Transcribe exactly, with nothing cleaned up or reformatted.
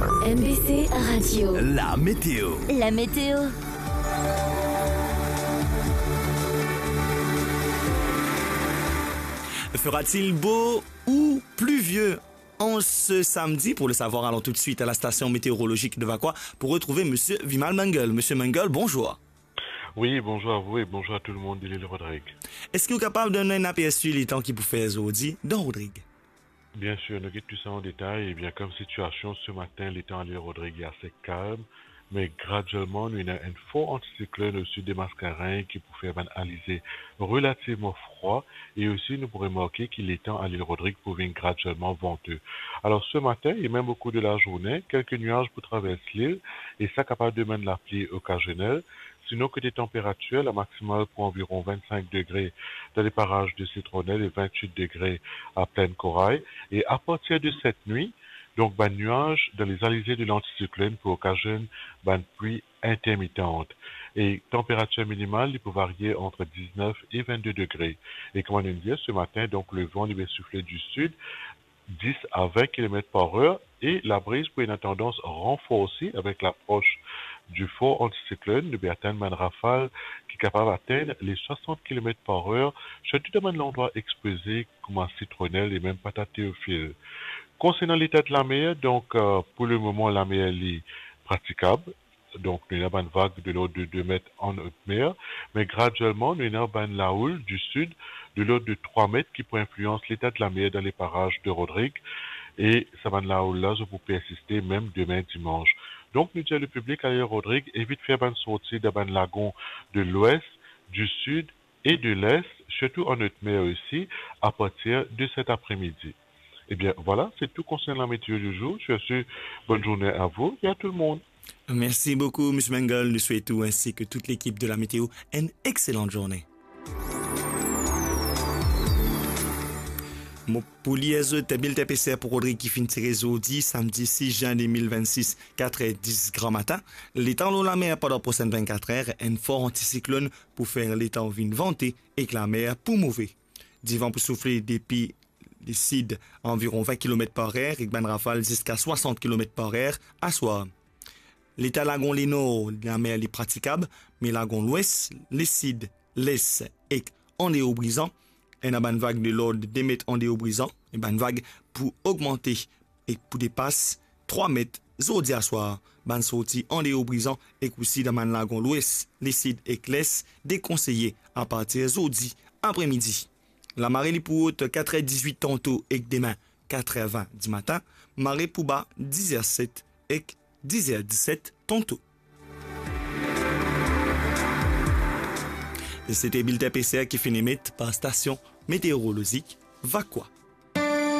M B C Radio. La météo. La météo. Fera-t-il beau ou pluvieux en ce samedi ? Pour le savoir, allons tout de suite à la station météorologique de Vacoas pour retrouver Monsieur Vimal Mangal. Monsieur Mangal, bonjour. Oui, bonjour à vous et bonjour à tout le monde de l'île Rodrigue. Eski ou kapav donn nou enn apersi letan ki pou fer zordi dan Rodrig? Bien sûr, nou get tou sa an detay. Ebien, kom sitiasion, se matin, letan a lil Rodrig li ase kalm, me gradielman, nou ena enn for antisiklonn osi de Mascarenhas ki pou fer bann alize relativman fre, e osi nou pou remarke ki letan a lil Rodrig pou vinn gradielman vante. Alor, se matin e mem o kour de lazourne, kelke niaz pou travers lil, e sa kapav donn lapli okazionel, Sinon, kote tanperatir, la maksimal pou anviron vinn-sink degre dan le paraz de Sitronel e vinn-wit degre a Plinn Koray. E apartir de set nwi, donk, bann niaz dan lezalize de lantisiklonn pou okazionn bann pli intermitan. E tanperatir minimal, li pou varie ant diznef e vinn-de degre. E kouma nou dir, se matin, donk, levan, li pe soufle di sid, dis a vinn kilomet par er, e labriz pou ena tandans ranforsi avek lapros di for antisiklonn. Nou pe atenn bann rafal ki kapav atenn le swasant kilomet par er, sirtou dan bann landrwa expoze kouma Sitronel e mem Pata Teofil. Konsernan leta de lamer, donk, euh, pou lemoman, lamer li pratikab. Donk, nou ena bann vag de lord de de met an otmer, me gradielman, nou ena bann laoul di sid de lord de trwa met ki pou inflians leta de lamer dan le paraz de Rodrig, e sa bann laoul la, zot pou persiste mem demin dimans. Donk, nou dir a lepiblik, a lil Rodrig, evit fer bann sorti dan bann lagon de lwes, di sid e de les, sirtou an otmer osi, apartir de set apremidi. Ebien, vwala, se tou konsernan lameteo di zour. Sur ce, bonne journée à vous et à tout le monde. Merci beaucoup, Monsieur Mangal. Nous souhaitons, ainsi que toute l'équipe de la météo, une excellente journée. Mo pou lir zot bilten peser pou Rodrig ki finn tire zordi, samedi six juin deux mille vingt-six, quatre heures dix gramatin. Letan lor lamer pandan prosenn vinn-kat er, enn for antisiklonn pou fer letan vinn vante ek lamer pou move. Divan pou soufle depi le sid, anviron vinn kilomet par er, ek bann rafal ziska swasant kilomet par er aswar. Leta lagon lenor, lamer li pratikab, me lagon lwes, lesid, les ek andeor Brizan, ena bann vag de lord de met andeor Brizan, e bann vag pou ogmante ek pou depas trwa met zordi aswar. Bann sorti andeor Brizan ek osi dan bann lagon lwes, lesid ek les dekonseye apartir zordi apremidi. Lamare li pou rod kat er dizwit tanto ek demin kat er vin dimatin, mare pou ba diz er set ek diz er diset tanto. Se te bilten peser ki finn emet par stasion meteorolozik Vacoas.